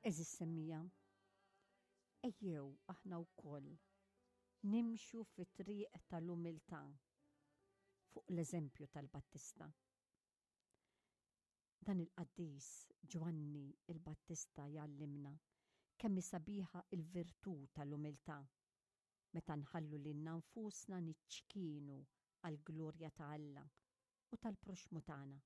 Għeżież semmiegħa, ejjew aħna wkoll nimxu fit-triq tal-umiltà fuq l-eżempju tal-Battista. Dan il-qaddis Ġwanni l-Battista jgħallimna kemm hi sabiħa l-virtù tal-umiltà meta nħallu lilna nfusna niċċkienu għall-glorja ta' Alla u tal-proxxmu tagħna.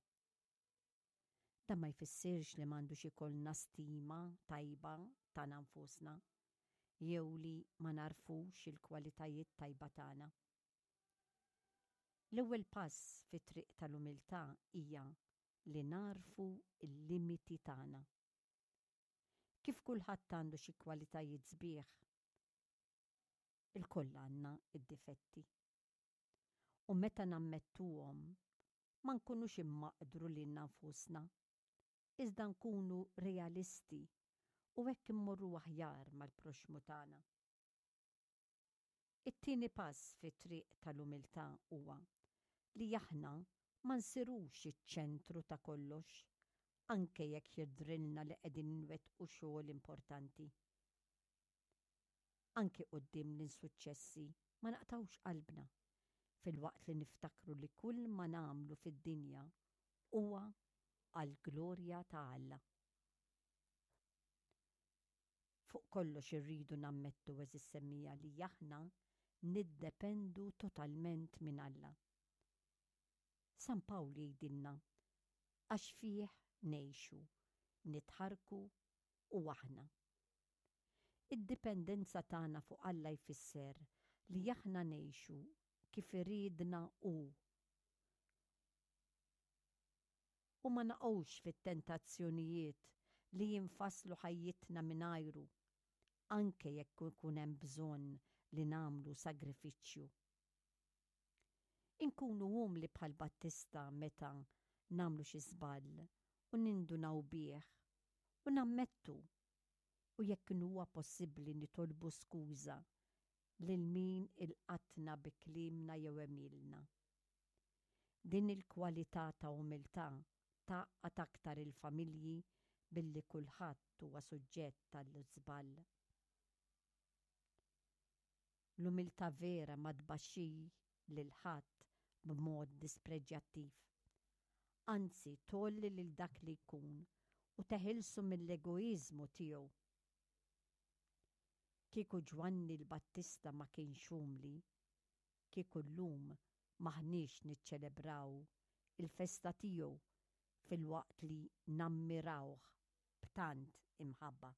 Dan ma jfissirx li m'għandux ikollna stima tajba tagħna nfusna jew li ma nagħrfux il-kwalitajiet tajba tagħna. L-ewwel pass fit-triq tal-umiltà hija li nagħrfu l-limiti tagħna. Kif kulħadd għandu xi kwalitajiet sbieħ, ilkoll għandna d-difetti. U meta nammettuhom, ma nkunux immaqdru lilna nfusna, iżda nkunu realisti u hekk immorru aħjar mal-proxxmu tagħna. It-tieni pass fit-triq tal-umiltà huwa li aħna ma nsirux iċ-ċentru ta' kollox, anke jekk jidhrilna li qegħdin inwettqu xogħol importanti. Anki quddiem l-insuċċessi ma naqtgħux qalbna, filwaqt li niftakru li kull ma nagħmlu fid-dinja huwa għall-glorja ta' Alla. Fuq kollox irridu nammettu għeżież semmiegħa li aħna niddependu totalment minn Alla. San Pawl jgħidilna, Għax fih ngħixu, nitħarrku u aħna. Id-dipendenza tagħna fuq Alla jfisser li aħna ngħixu kif iridna hu u ma naqgħux fit-tentazzjonijiet li jinfasslu ħajjitna mingħajru, anke jekk ikun hemm bżonn li nagħmlu sagrifiċċju. Inkunu umli bħal Battista meta nagħmlu xi żball u nindunaw bih u nammettu u jekk inhuwa possibbli nitolbu skuża lil min ilqatna bi kliemna jew għemilna. Din il-kwalità ta' umiltà tgħaqqad aktar il-familji billi kulħadd huwa suġġett għall-żball. L-umiltà vera ma tbaxxi lil ħadd b'mod dispreġjattiv. Anzi, tgħolli lil dak li jkun u teħilsu mill-egoiżmu tiegħu. Kieku Ġwanni l-Battista ma kienx umli, kieku llum m'aħniex niċċelebraw il-festa tiegħu filwaqt li nammirawh b'tant imħabba.